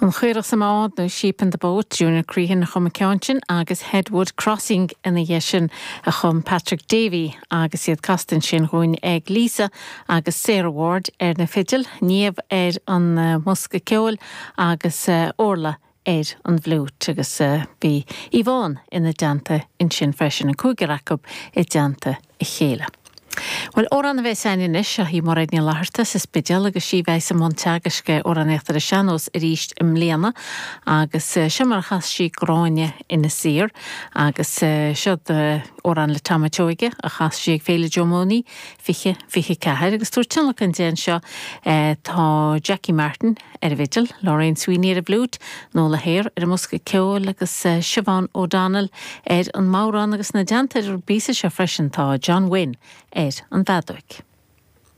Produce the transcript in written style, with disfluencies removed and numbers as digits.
An Chaorach sa mBád nó Sheep in the Boat, Junior Crehan a chum an ceann sin agus Headwood Crossing ina dhiaidh sin a chum Patrick Davey agus iad casta ansin dhúinn ag Lisa agus Sarah Ward ar na fidil, Niamh ar an mbosca ceoil agus Orla ar an bhfliúit agus bhí Yvonne ina dteannta ansin freisin, an cúigear acu i dteannta a chéile. Bhuel, amhrán a bheas againn anois, seo í Mairéad Ní Fhlatharta sa Spidéal agus sí a bheas i mbun teagaisc amhránaíochta ar an sean-nós arís i mbliana agus seo mar a chas sí Gráinne Inis Oírr agus seo amhrán le Tom a' tSeoige a chas sí ag Féile Joe Mooney 2024 agus tabhairt tionlacan di anseo tá Jackie Martin, ar an bhfidil, Lorraine Sweeney ar an bhfliúit, Nola Hare ar an mbosca ceoil agus Siobhán O'Donnell ar an mbodhrán agus ina dteannta ar an bpíosa seo freisin tá John Wynne ar an bhfeadóig.